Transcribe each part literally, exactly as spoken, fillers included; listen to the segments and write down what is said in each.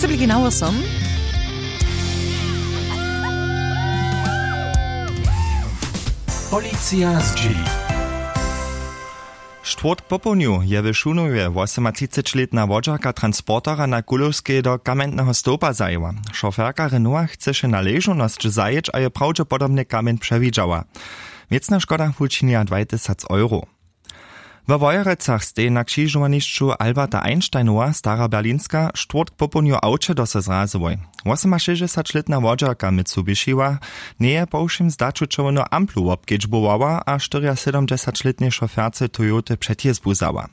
Genau som. Policija zdźěli. Štwórtk popołdnju je w Šunowje wosomatřicećlětna wodźerka transportera na Kulowskej do kamjentneho stołpa zajěła. Šoferka Renaulta chceše na ležownosć zajěć a je prawdźepodobnje kamjeń přewidźała. Wěcna škoda wučinja dwaj tysac euro. We Wojerecach stej na křižowanišću Alberta Einsteinowa, Stara Berlinska, štwórtk popołdnju awče do se zrazyłoj. Wosomašěsćdźesaćlětna wodźerka Mitsubishiwa njeje po wšěm zdaću čerwjenu amplu wobkedźbowała a štyriasydomdźesaćlětnej šoferce Toyoty předjězbu wzała.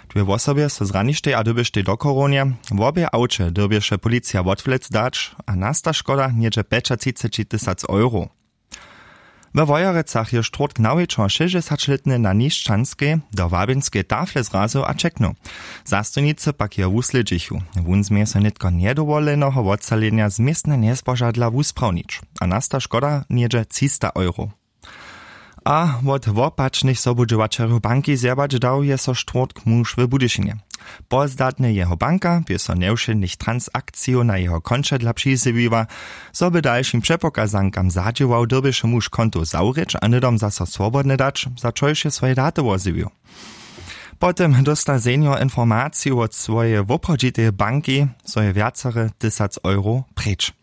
Dwě wosobje so zraništej a dyrbještej do chorownje. Wobě awče dyrbješe policija wotwlec dać a nasta škoda něhdźe pjećatřiceći tysac euro. We Wojerecach je štwórtk nawječor šěsćdźesaćlětny na Nišćanskej do wabjenskej tafle zrazył a ćeknył. Zastojnicy pak jeho wuslědźichu. Wón změje so nětko njedowoleneho wotsalenja z městna njezbožadla wusprawnić a nasta škoda něhdźe třista euro. A wot wopačnych sobudźěłaćerjow banki zjebać dał je so štwórtk muž w Budyšinje. Pozdatnje jeho banka bě so njewšědnych transakcijow na jeho konće dla přizjewiła. Zo by dalšim přepokazankam zadźěłał, dyrbješe muž konto zawrěć a hnydom zaso swobodne dać, za čož je swoje daty wozjewił. Potom dósta senior informaciju wot swojeje woprawdźiteje banki, zo je wjacere tysac euro preč.